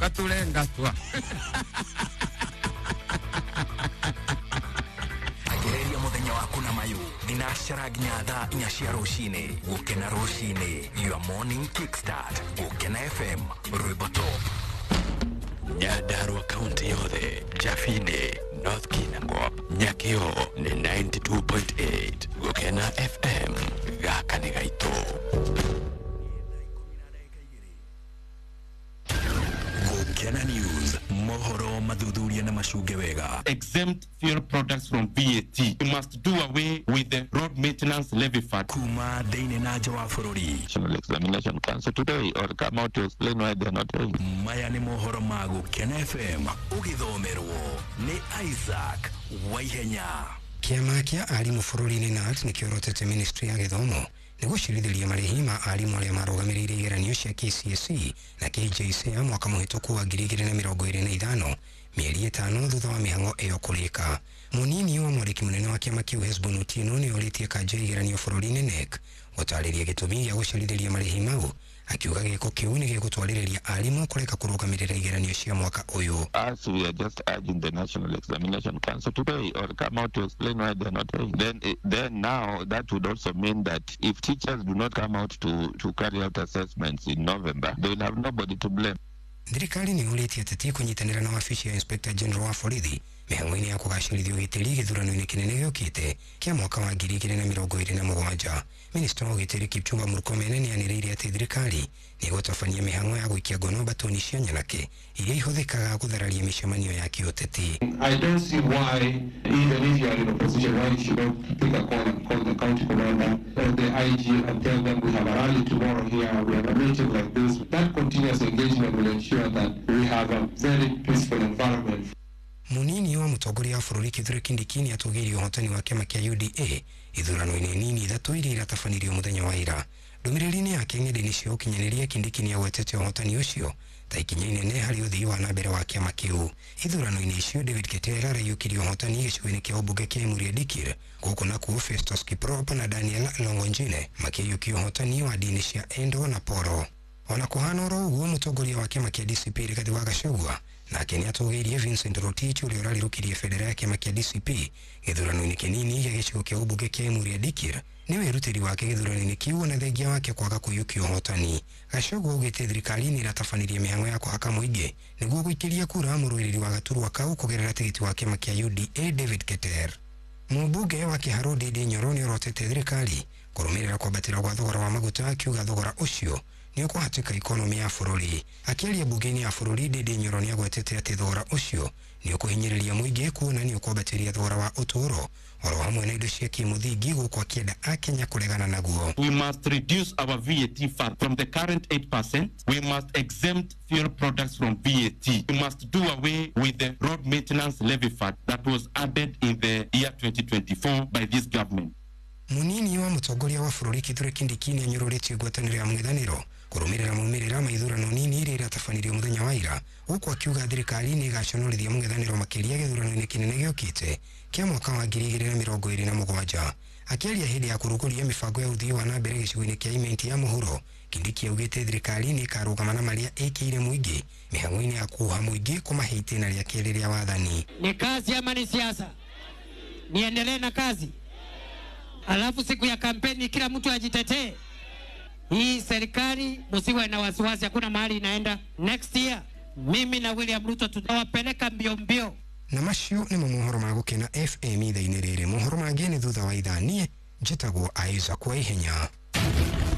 Katulenga tua. Anjĩrĩria mũthenya waku na mayu thinacara nginya thaa 4 cia rũcinĩ. Gũkena rũcinĩ, your morning kickstart. Gũkena FM, rwĩmbo top. Nyandarua kaunti yothe, Jafine, North Kinangop, Nyakio nĩ 92.8. Gũkena FM, gaka nĩ gaitũ. Gũkena News, mohoro mathuthuria na macunge wega. Exempt fuel products from VAT. We must do away with the road maintenance levy fund. Kuma thĩinĩ na nja wa bũrũri. National Examination Council today or come out to explain why they're not paying. Maya nĩ mohoro ma Gũkena FM, ũgĩthomerwo nĩ Isaac Waihenya. Kĩama kĩa arimũ bũrũri-inĩ KNUT nĩ kĩorotete ministry ya gĩthomo nĩ gũcirithĩria marĩhi ma arimũ arĩa marũgamĩrĩire igeranio cia KCSE na KJSEA mwaka mũhĩtũku wa 2025, mĩeri 5 thutha wa mĩhang'o ĩyo kũrĩka. Mũnini wa mwandĩki mũnene wa kĩama kĩu Hesbon Otieno nĩ orĩtie kanja ya igeranio bũrũri-inĩ KNEC gũtarĩria gĩtũmi gĩa gũcerithĩria marĩhi mau, akiuga gĩko kĩu nĩ gĩgũtwarĩrĩria arimũ kũreka kũrũgamĩrĩra igeranio cia mwaka ũyũ. As we are just urging the National Examination Council today or come out to explain why they're not paying. Then now that would also mean that if teachers do not come out to carry out assessments in November, they will have nobody to blame. Thirikari nĩ yũrĩtie ateti kũnyitanĩra na wabici ya Inspector General wa borithi mĩhang'o-inĩ ya kũgacĩrithia ũgitĩri gĩthurano-inĩ kĩnene gĩũkĩte kĩa mwaka wa 2027. Minista wa ũgitĩri Kipchumba Murkomen nĩ anĩrĩire atĩ thirikari nĩ ĩgũtabania mĩhang'o ya gũikia ngono mbatoni cia nyanake iria ihũthĩkaga gũthararia mĩcemanio ya kĩũteti. I don't see why, even if you are in opposition, why you should not pick a call and call the county commander or the IG and tell them we have a rally tomorrow here, we have a meeting like this. That continuous engagement will ensure that we have a very peaceful environment. Munini wa mũtongoria wa bũrũri Kithure Kindiki nĩ atũgĩirie ũhotani wa kĩama kĩa UDA ithurano-inĩ nini ithatũ iria iratabanirio mũthenya wa ira. Ndũmĩrĩri-inĩ yake ng'enda-inĩ cia ũkinyanĩria, Kindiki nĩ agwetete ũhotani ũcio ta ikinya inene harĩ ũthii wa na mbere wa kĩama kĩu. Ithurano-inĩ icio, David Ketera araiyũkirie ũhotani gĩcigo-inĩ kĩa ũmbunge kĩa Emurua Dikirr, gũkũ nakuo Festus Kiprop na Daniel Longonjine makĩiyũkia ũhotani wa ndini cia Endo na Poro. Ona kũhana oro ũguo, mũtongoria wa kĩama kĩa DCP Rigathi wa Gachagua nake nĩ atũgĩirie Vincent Rotich ũrĩa ũrarirũkirie bendera ya kĩama kĩa DCP gĩthurano-inĩ kĩnini gĩa gĩcigo kĩa ũmbunge kĩa Emurua Dikirr nĩ wĩrutĩri wake gĩthurano-inĩ kĩu na thengia wake kwaga kũiyũkia ũhotani. Gachagua augĩte thirikari nĩ ĩratabanirie mĩhang'o ya kũhaka mũingĩ nĩguo gũikĩria kura mũrũĩrĩri wa gaturwa kau kũgerera tigiti wa kĩama kĩa UDA David Keter. Mũmbunge wa Kĩharũ Ndindi Nyoro nĩ orotete thirikari kũrũmĩrĩra kwambatĩra gwa thogora wa maguta, akiuga thogora ũcio nĩ ũkũhatĩka ikonomi ya bũrũri. Akĩaria mbunge-inĩ ya bũrũri, Ndindi Nyoro nĩ agwetete atĩ thogora ũcio nĩ ũkũhinyĩrĩria mũingĩ kuona nĩ ũkwambatĩria thogora wa ũtũũro oro hamwe na indo cia kĩmũthingi, gũkũ akĩenda akenya kũregana naguo. We must reduce our VAT fund from the current 8%. We must exempt fuel products from VAT. We must do away with the road maintenance levy fund that was added in the year 2024 by this government. Munini wa mũtongoria wa bũrũri Kithure Kindiki nĩ anyũrũrĩtie ngwatanĩro ya mũng'ethanĩro kũrũmĩrĩra maumĩrĩra ma ithurano nini iria iratabanirio mũthenya wa ira, gũkũ akiuga thirikari nĩ ĩgaconorithia mũng'ethanĩro makĩria gĩthurano-inĩ kĩnene gĩũkĩte kĩa mwaka wa 2027. Akĩaria hĩndĩ ya kũrugũria mĩbango ya ũthii wa na mbere gĩcigo-inĩ kĩa Imenti ya mũhuro, Kindiki augĩte thirikari nĩ ĩkarũgama na marĩa ĩkĩire mũingĩ mĩhang'o-inĩ ya kuoha mũingĩ kũmahe itĩna rĩa kerĩ rĩa wathani. Ni kazi ama ni siasa? Niendelee na kazi, alafu siku ya kampeni kila mtu ajitetee. Hii serikali msiwe na wasiwasi, hakuna mahali inaenda. Next year mimi na William Ruto tutawapeleka mbio mbio. Na macio nĩmo mohoro ma Gũkena FM ithaa-inĩ rĩrĩ. Mohoro mangĩ nĩ thutha wa ithaa. Niĩ njĩtagwo Isaac Waihenya.